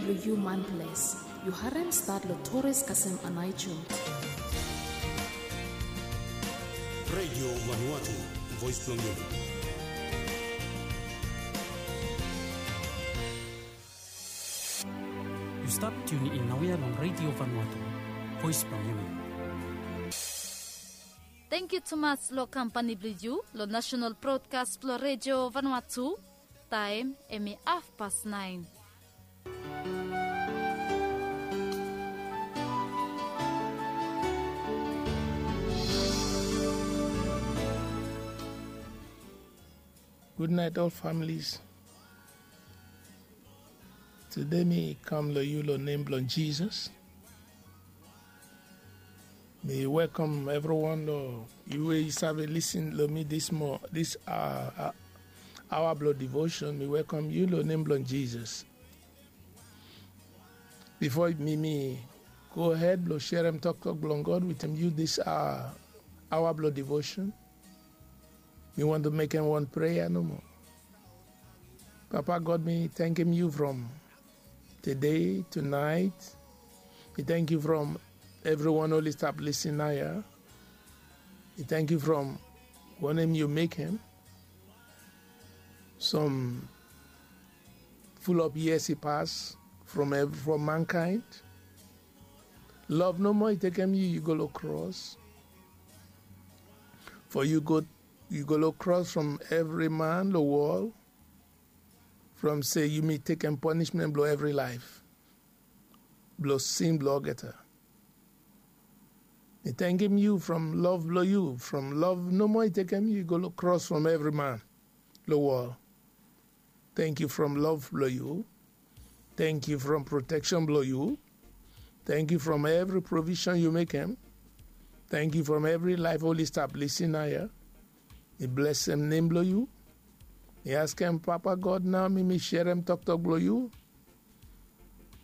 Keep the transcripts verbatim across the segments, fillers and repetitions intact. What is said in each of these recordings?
Lo yu man ples, yu harem stat lo Torres kasem Anaichum. Radio Vanuatu, voice blong yumi. Yu stap tuni in naoia long Radio Vanuatu, voice blong yumi. Tangkiu tumas lo kampani blong yu lo national broadcast blong Radio Vanuatu. Taem hemi hafpas naen. Gudnaet ol familis. Tede mi kam lo yu lo nem blong Jisas. Mi welkom evriwan lo yu we yu save lisin lo mi dis mo dis aoa blong devotion. Mi welkom yu lo nem blong Jisas. Bifo mi mi gohed blong serem toktok blong God wetem yu dis aoa blong devotion, mi wantem mekem wan prea nomo. Papa God, mi tangkem yu from tede tunaet. Mi tangkem from evriwan oli stap lisin naoia. Mi tangkem from wanem yu mekem. Som fulop yias i pas from mankaen. Lov nomo i tekem yu yu go lo kros. Fo yu go yu go lo kros from evri man lo wol. From se yumi tekem ponismen blo evri laef blo sin blo olgeta. Mi tangkem yu from lov blo yu, from lov nomo i tekem yu go lo kros from evri man lo wol. Tangkiu from lov blo yu. Tangkiu from proteksen blo yu. Tangkiu from evri provisen yu mekem. Tangkiu from evri laef oli stap lisin naoia. Mi blesem nem blo yu. Mi askem Papa God nao mi mi serem toktok blo yu.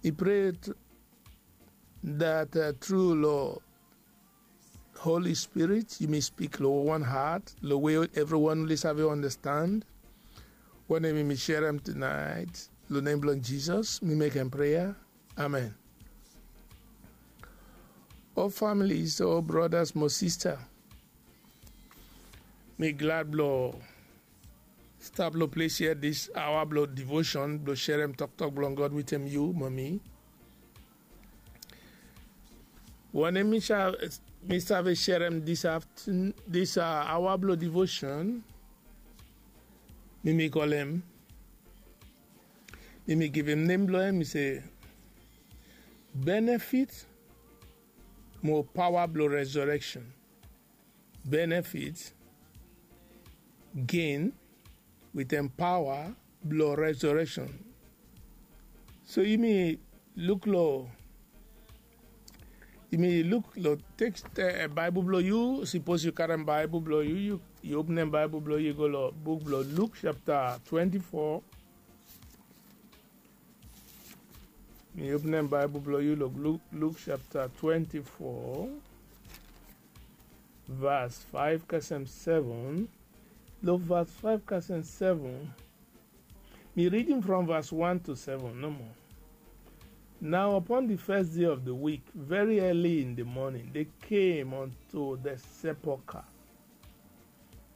Mi prea dat tru lo Holi Spirit yumi spik lo wan hat lo we evriwan oli save andastand. Wanem mi mi serem tunaet lo nem blong Jisas mi mekem prea. Amen. Ol familis, ol bradas mo sista, mi glad blo stap lo ples ya dis aoa blo devosen blo serem toktok blong God wetem yu mo mi. Wanem mi sa mi save serem dis aftenun, dis aoa blo devosen, mi mi kolem, mi mi givim nem blo hem mi se, benefit mo paoa blo resureksen. Benefit, gen wetem paoa blo resureksen. So yumi luk lo yumi luk lo teks baebol blo yu. Sipos yu karem baebol blo yu, yu openem baebol blo yu go lo buk blo Luk japta twenti fo. Mi openem baebol blo yu lo Luk japta twenti fo, vas faef kasem seven. Lo vas faef kasem seven, mi ridim from vas wan to seven nomo. Now upon the first day of the week, very early in the morning, they came unto the sepulchre,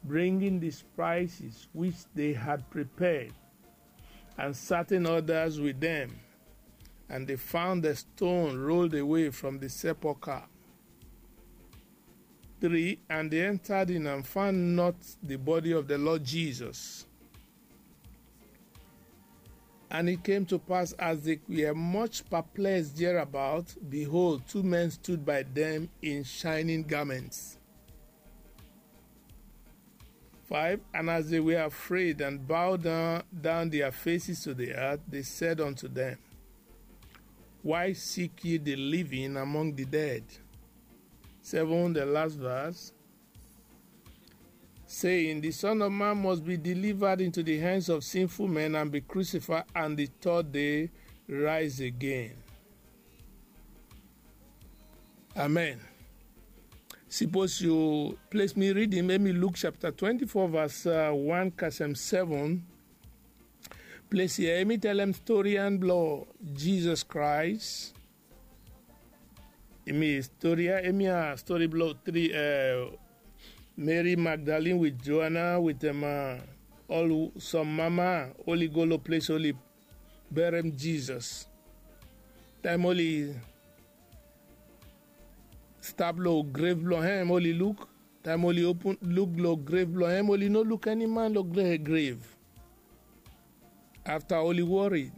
bringing the spices which they had prepared, and certain others with them. And they found the stone rolled away from the sepulchre. Three, and they entered in and found not the body of the Lord Jesus. And it came to pass, as they were much perplexed thereabout, behold, two men stood by them in shining garments. Five, and as they were afraid and bowed down, down their faces to the earth, they said unto them, Why seek ye the living among the dead? Seven, the last verse, saying, The Son of Man must be delivered into the hands of sinful men and be crucified, and the third day rise again. Amen. Sipos yu ples mi ridim, mek mi Luk japta twenti fo, vas wan kasem seven. Ples ya emi telem storian blong Jizas Kraes. Emi stori ya emi ya stori blong tri Meri Magdalin wit Joana wit em ol som mama oli go long ples oli berem Jizas. Taem oli stap long grev blong hem oli luk, taem oli opun luk long grev blong hem oli no luk eni man long grev. Afta oli wori,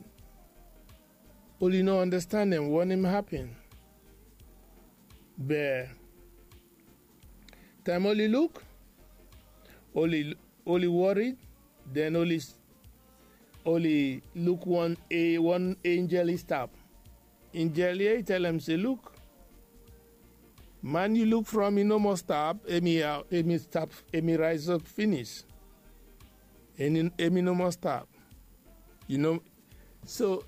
oli no andastanem wanem hapen. Be taem oli luk, oli oli wori, den oli oli luk wan enjel i stap. Enjel ya i telem se luk, man yu luk from i no moa stap, emi stap, emi raesap finis. Emi no moa stap. Yu no so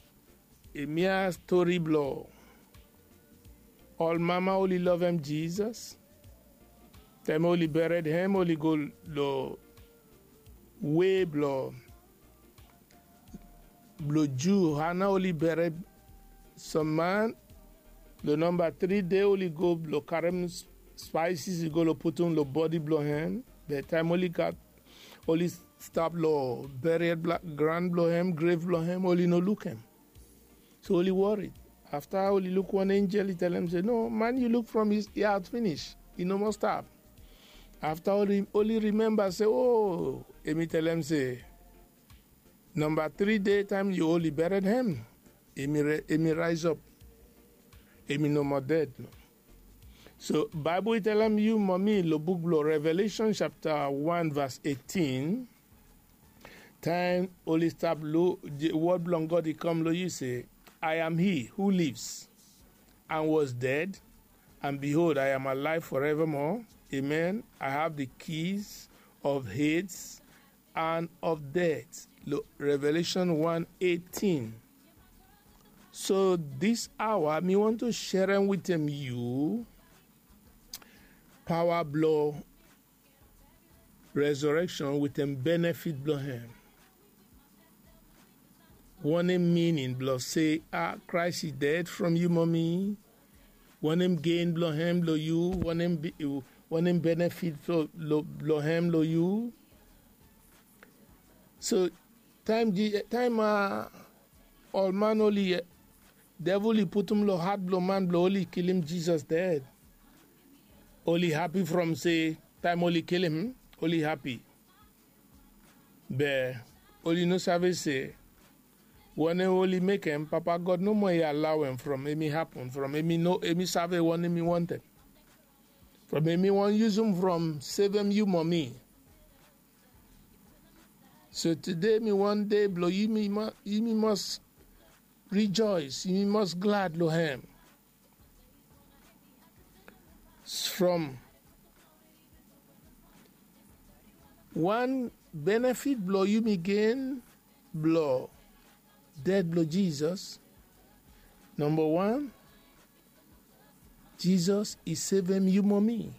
emi ya stori blong ol mama oli lovem Jizas. Taem oli bered hem oli go long we blong blong Ju hana oli bered som man. Long namba tri dei oli go blong karem spaesis i go long putum long bodi blong hem. Be taem oli gat oli stap long beried gran blong hem, grev blong hem, oli no luk hem. So oli wori. Afta oli luk wan enjel i telem se no, man yu luk from i aot finis, i no moa stap. Afta oli rimemba se o, emi telem se namba tri dei taem yu oli bered hem, emi raesap, emi no moa ded. So Baebol i telem yu mo mi long buk blong Revelesen japta wan vas etin, taem oli stap luk, wod blong God i kam long yu se, I am he who lives and was dead, and behold, I am alive forevermore. Amen. I have the keys of Hades and of death. Revelation one eighteen. So this hour mi want to share am with them you power blow resurrection with them benefit blow him. Wanem meaning blong se a Christ is dead from you mommy? Wanem gain blong hem blong you? Wanem benefit blong hem blong you? So taem a ol man oli devil i putum long hat blong man blong oli kilim Jisas ded, oli hapi from se taem oli kilim oli hapi. Be oli no save se wanem oli mekem Papa God nomo i alawem from emi hapun from emi no emi save wanem i wantem from emi wan yusum from sevem yu mo mi. So tede mi wan dei blong yumi mas rijois, yumi mas glad long hem. From wan benefit blong yumi gen blong ded blong Jisas. Namba wan, Jisas i sevem yu mo mi.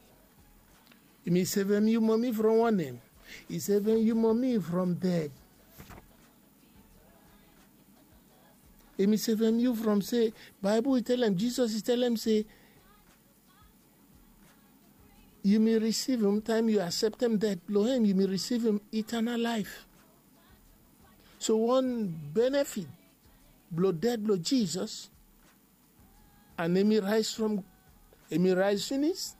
Yumi sevem yu mo mi from wanem? I sevem yu mo mi from ded. Yumi sevem yu from se Baebol i telem, Jisas i telem se yumi risivim taem yu aseptem ded blong hem yumi risivim itanal laef. So wan benefit blong ded blong Jisas, and emi raes from emi raes finis,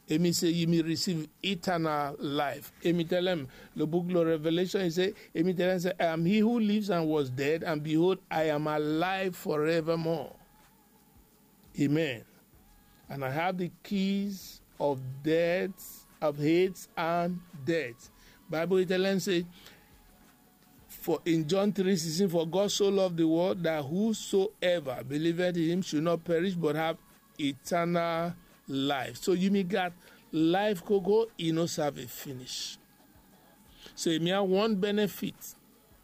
emi se yumi risiv itanal laef. Emi telem long buk long Reveleshon i se, emi telem se, I am he who lives and was dead, and behold, I am alive forevermore. Amen. And I have the keys of death, of hate and death. Baebol i telem se, for in John three sixteen, for God so love the world that whosoever believeth in him should not perish but have eternal life. So yumi gat laef gogo i no save finis. So yumi have wan benefit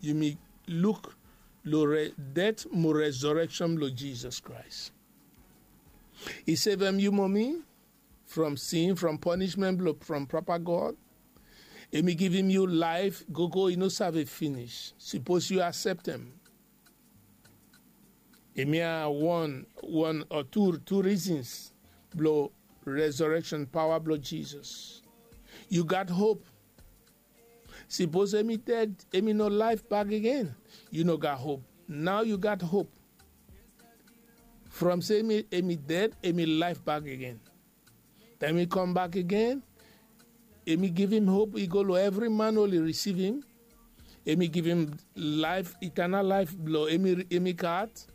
yumi luk long det mo resurrection blong Jisas Kraes. I sevem yu mo mi from sin, from punishment blong from Papa God. Em i givim yu laef gogo i no save finis. Sipos yu akseptem. Em ya wan wan o tu tu rizins blong resurekshon paoa blong Jizas. Yu gat hop. Sipos em i ded, em i no laef bak agen, yu no gat hop. Nao yu gat hop. From se em i ded, em i laef bak agen. Taem i kambak agen, em i givim hop i go long evri man oli risivim. Em i givim laef, itanal laef blong em i gat.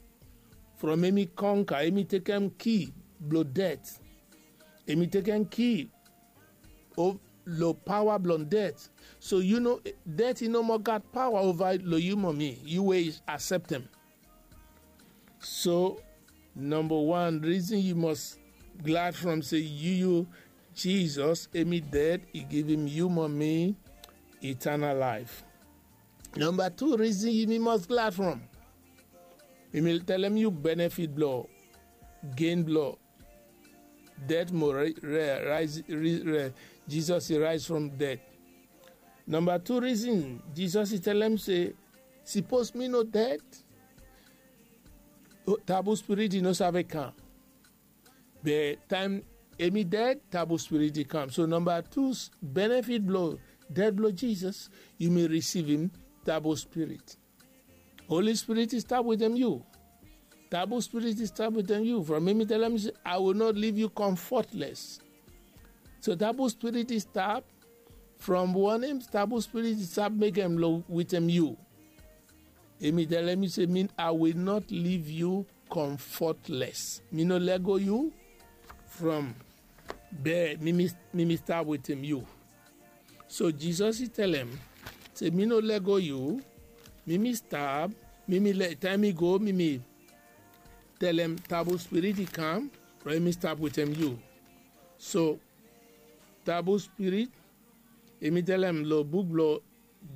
From em i konka, em i tekem ki blong ded. Em i tekem ki long paoa blong ded. So yu no, ded i no moa gat paoa ova long yu, momi, yu we i akseptem. So namba wan rizin yu mos glad from se yu, yu, Jizos, em i ded, i givim yu mo mi itanal laef. Namba tu rizin yu mi mos glad from, mi mi telem yu benefit blong gen blong ded mo re, re, raes, re, re, Jizos i raes from ded. Namba tu rizin, Jizos i telem se, sipos mi no ded, tabu spirit i no save kam. Be taem em i ded, tabu spirit i kam. So namba tu benefit blong ded blong Jizos, yu mi risivim tabu spirit. Holi Spirit i stap wetem yu. Tabu Spirit i stap wetem yu. From em i telem se, I will not leave you comfortless. So tabu Spirit i stap. From wanem tabu Spirit i stap mekem long wetem yu? Em i telem yu se, mi, I will not leave you comfortless. Mi no lego yu from be mi mi mi mi stap wetem yu. So Jizos i telem se, mi no lego yu. Mi mi stap. Mi mi le taem i go, mi mi telem tabu spirit i kam, bai mi stap wetem yu. So tabu spirit, em i telem long buk blong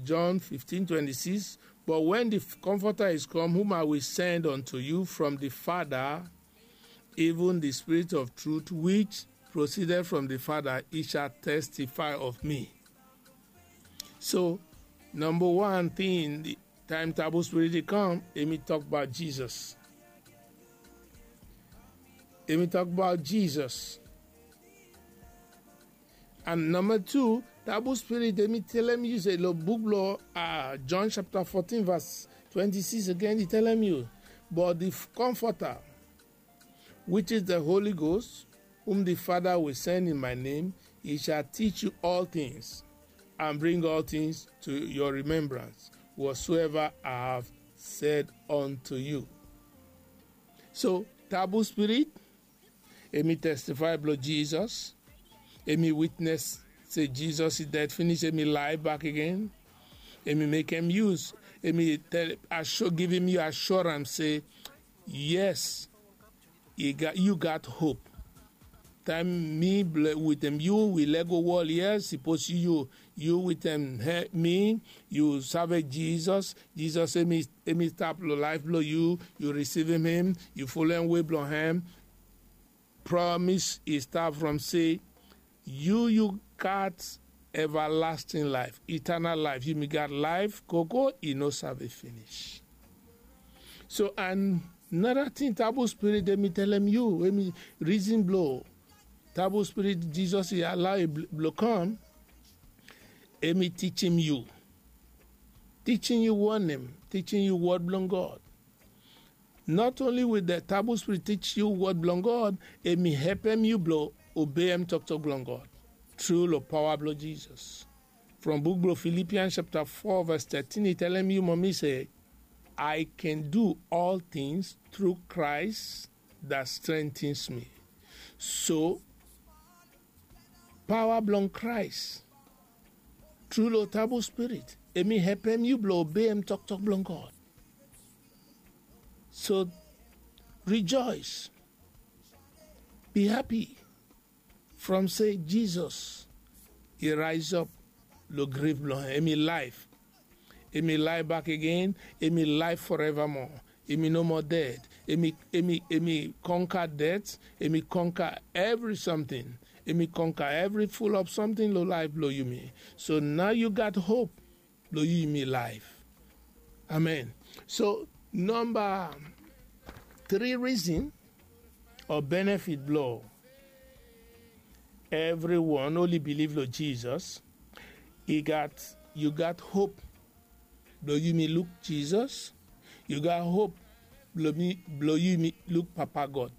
John fifteen twenty-six, but when the Comforter is come, whom I will send unto you from the Father, even the Spirit of truth, which proceeded from the Father, he shall testify of me. So number one thing, the time tabu spirit dey come, em e talk about Jesus. Em e talk about Jesus. And number two, tabu spirit, em e tell em you say, lo, book lo, uh, John chapter fourteen, verse twenty-six again, e tell em you, but the comforter, which is the Holy Ghost, whom the Father will send in my name, he shall teach you all things and bring all things to your remembrance, whatsoever I have said unto you. So, tabu spirit, em e testify blong Jesus. Em e witness say Jesus e dead finish, em e live back again. Em e make em use, em e tell, assure, give him you assurance say, yes, you got, you got hope. Time me with him, you will let go world, yes, suppose you, you with him, me, you serve Jesus. Jesus, em e, em e stop lo life blong you, you receive him, you follow him way blong him. Promise e start from say, you, you got everlasting life, eternal life. You me got life, koko, e no serve finish. So, and another thing, tabu spirit, em e tell em you, em e reason blong tabu spirit, Jesus, e allow e bl-, blong come, em e teach him you. Teaching you one name, teaching you word blong God. Not only will the tabu spirit teach you word blong God, em e help em you blong obey em talk talk blong God. Through lo power blong Jesus. From book blong Philippians chapter four verse thirteen, e tell em you, mommy, say, I can do all things through Christ that strengthens me. So, power blong Christ, through lo tabu spirit, em e help em you blong obey em talk talk blong God. So, rejoice, be happy, from say Jesus, e rise up lo grave blong em, em e life. Em e life back again, em e life forevermore. Em e no more dead. Em e, em e, em e conquer death, em e conquer every something. Yumi konka evri full of something lo laef blo yumi. So nao yu gat hop blo yumi laef. Amen. So namba tri reason o benefit blo evriwan oli bilif lo Jizas, i gat yu gat hop blo yumi luk Jizas. Yu gat hop blo yumi luk Papa God.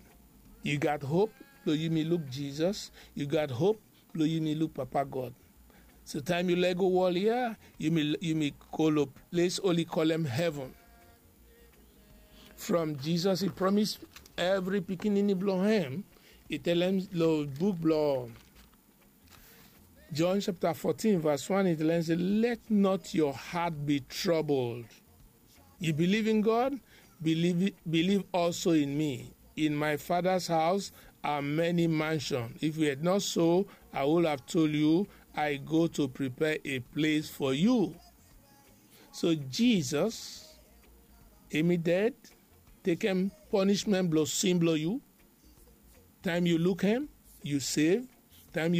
Yu gat hop blo yumi luk Jizas. Yu gat hop blo yumi luk Papa God. So taem yu lego wol ya, yumi go lo ples oli kolem heven. From Jizas i promis evri pikinini blo hem, i telem lo buk blo John chapter fourteen verse one, i telem se, let not your heart be troubled. You believe in God, believe also in me. In my Father's house are many mansions. If it were not so, I would have told you, I go to prepare a place for you. So Jesus, hemi dead, tekem punishment blo sin blo yu. Taem yu luk hem, yu save. Taem yu